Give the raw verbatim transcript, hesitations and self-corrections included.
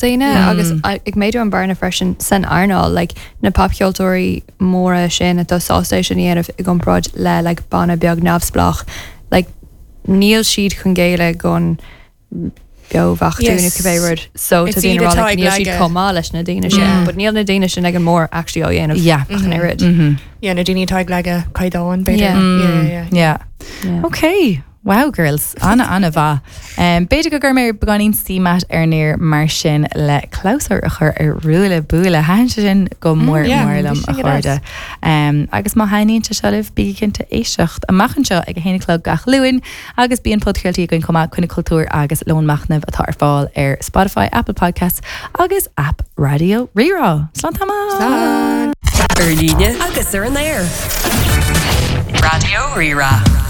daoine agus ag méadú an bearna freisin san earnáil like, na popcheoltóirí móra sin atá sásta é sin a dhéanamh i gcomparáid le like, banna beag neamhspleách like, níl siad chun géilleadh don beobheachtú Yes. nó cibé rud so It's tá daoine iad rá atá like, ag níl siad leagadh. chomh maith leis na daoine sin but níl na daoine sin ag an mór actually á dhéanamh Yeah. ach an oiread. Yeah, na daoine atá ag leagadh caighdeán b'fhéidir. Yeah. Yeah, yeah, Yeah. Yeah. Okay. Wow, girls. Ana ana mhaith. Um, B'fhéidir go gcuirfidh mé beagáinín CMAT ar nair mar sin le clabhsúr a chur ar Ruaille Buaille Thaitin sé sin go mór yeah, mór liom bhí a sin go chairde. Um, agus má thaitníonn sé seo libh bígí cinnte éisteacht amach anseo ag a haon a chlog gach Luan agus bíonn podchraoltaí againn chomh maith Coinne Cultúr agus Lón Machnaimh atá ar fáil ar Spotify, Apple Podcasts agus app Raidió Rí-Rá. Slán tamall! Slán. Ar líne agus ar an aer. Raidió Rí-Rá.